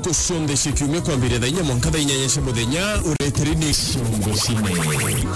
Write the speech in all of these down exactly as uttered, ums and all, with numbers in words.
Ntuku cionthe cia kiumia kwambiria thaa inya mwanka thaa inyanya cia muthenya, ureteri ni ciongo cine.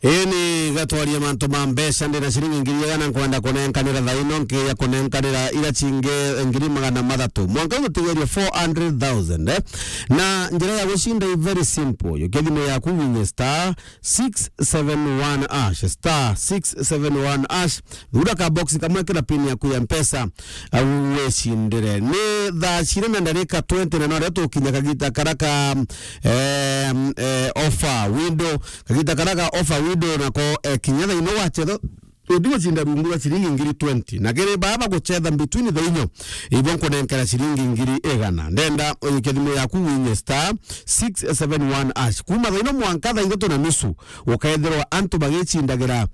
Ini gatwaria mantu ma mbeca, ndina ciringi ngiri igana nkwenda kunenkanira thaa ino, nkiya kunenkanira ira cingi ngiri magana mathatu. Mwanka gutigeria four hundred thousand, eh? Na njira ya gucinda i very simple. Yukia thimu yaku winye star six seven one hash, star six seven one hash. Thura ka box kamwe, kira pin yaku ya Mpesa, au wecindire. Ni thaa ciri na ndarika twenty na noria tukinya kagita kara ka, eh, eh, offer window, kagita kara ka offer window nako, eh, kinya thaa ino wacetha, uthi gucinda rungu rwa ciringi ngiri twenty. Na kiri baba gucetha between thaa inyo, ibo nkunenkera ciringi ngiri igana. Ndenda uyikie thimu yaku winye star six seven one hash. Kuma thaa ino mwanka thaa ithatu na nusu, ukethirwa antu bagicindagira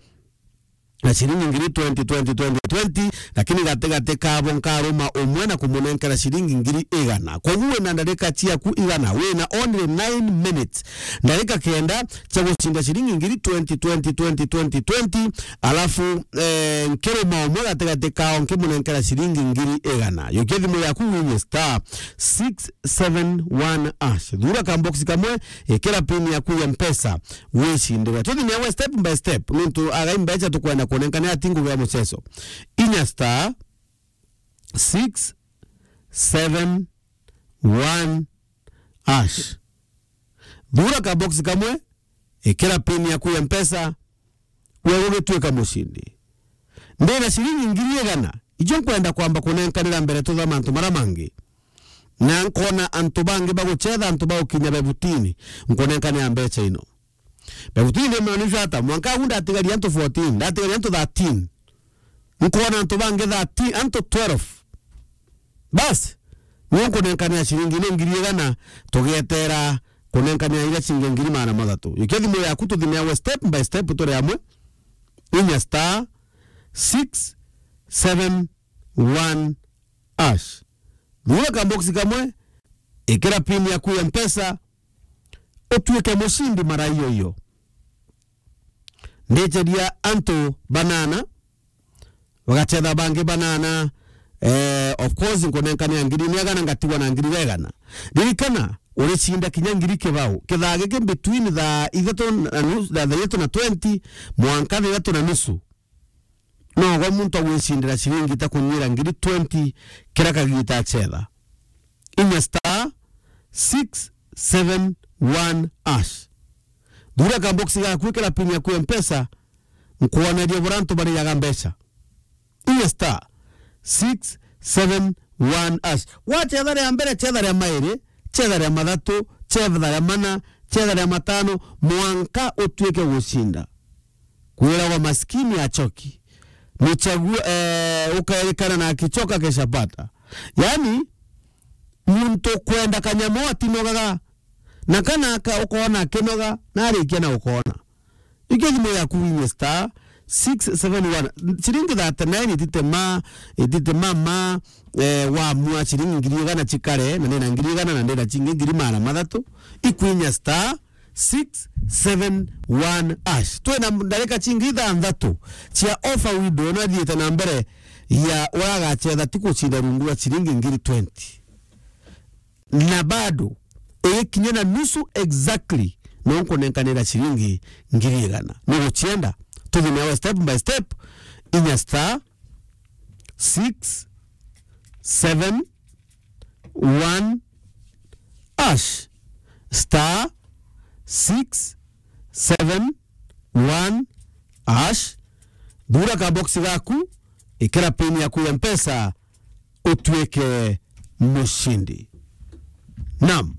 na ciringi ngiri twenty, twenty, twenty, twenty, lakini gatigati kabo nkaruma umwe na kumunenkera ciringi ngiri igana. Koguo wina ndarika ciaku igana, wina only nine minutes, ndarika kenda cia gucinda ciringi ngiri twenty, twenty, twenty, twenty, twenty, alafu, eh, nkiruma umwe gatigati kao nkimunenkera ciringi ngiri igana. Yukia thimu yaku winye star six seven one hash. Thura ka box kamwe, ikira pin yaku ya Mpesa, wicindire. Tuthi newe step by step, nontu agai mbeca tukwenda kunenkana ati ngugi ya muceco. Inya star six seven one hash. Thura ka box kamwe, ikira pin yaku ya Mpesa, we ugituika mucindi. Ndina ciringi ngiri igana, ijo nkwenda kwamba kunenkanira mbere tutha mantu mara mangi. Na nkona antu bangi bagucetha, antu bagukinya bebutini, nkunenkanira mbeca ino. Bebutini ni maanisha ata? Mwanka agu ndatigaria antu fourteen, ndatigaria antu thirteen. Nkona antu bangi thirteen, antu twelve. Bas, niu nkunenkanira ciringi ino ngiri igana, tugietera kunenkanira iria cingi ngiri magana mathatu. Yukia thimu yaku tuthi newe step by step turi amwe. Inya star six seven one hash. Thura ka box kamwe, ikira pin yaku ya Mpesa, utuike mucindi mara iyo iyo. Ndiceria antu banana, bagacetha bangi banana, eh, of course, nkunenkanira ngiri igana, ngatigwa na ngiri igana. Ririkana, uricinda kinya ngiri kibao. Kithaa giki between thaa ithatu na nusu, thaa ithatu na twenty, mwanka thaa ithatu na nusu. Nogo muntu agwicindira ciringi ta kunyira ngiri twenty kira kagita acetha. Inya star six seven one hash. Thura ka box gaku, ikira pin yaku ya Mpesa, nkwonerie buria antu bariaga mbeca. Inya star six seven one hash. Wacetha ria mbere, cetha ria mairi, cetha ria mathatu, cetha ria mana, cetha ria matano, mwanka utuike gucinda. Kwiragwa maskini achoki, mchagua, eh, ukaerekana na akichoka keshapata. Yani, muntu kwenda kanyamo atinogaga, na kana aka ukoona akinoga, na arikia na ukoona. Ikia thimu yaku winye star six seven one. Ciringi thirty-nine ititema, ititema ma, eh, wamua ciringi ngiri igana cikare, na ndina ngiri igana, na ndina cingi ngiri magana mathatu. Ikwinya star six seven one hash. Twina ndarika cingi ithanthatu cia offer window ino ithiite na mbere ya uragacetha ti gucinda rungu rwa ciringi ngiri twenty. Na bado, igikinya na nusu exactly, no nkunenkanira ciringi ngiri igana. Ni gucienda, tuthi nawe step by step, inya star six seven one hash, star six seven one hash, thura ka box gaku, ikira pin yaku ya Mpesa, utuike mucindi. Naam.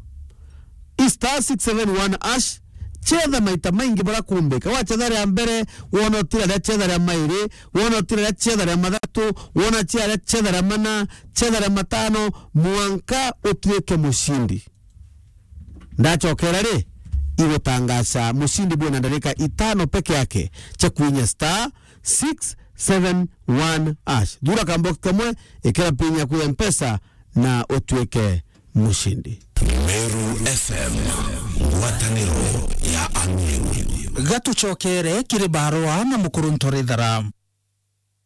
I star six seven one hash, cetha maita maingi bara kumbika. Wacetha ria mbere, wona utira ria cetha ria mairi, wona utira ria cetha ria mathatu, wona cia ria cetha ria mana, cetha ria matano, mwanka utuike mucindi. Ndacokera ri, igutangaca mucindi bwina ndarika itano peke yake cia kwinya star six seven one hash. Thura kambox kamwe, ikira pin yaku ya Mpesa na utuike mucindi. Meru F M, ngwataniro ya Ameru. Gatucokere kiri barua na mukuru Ntorithara.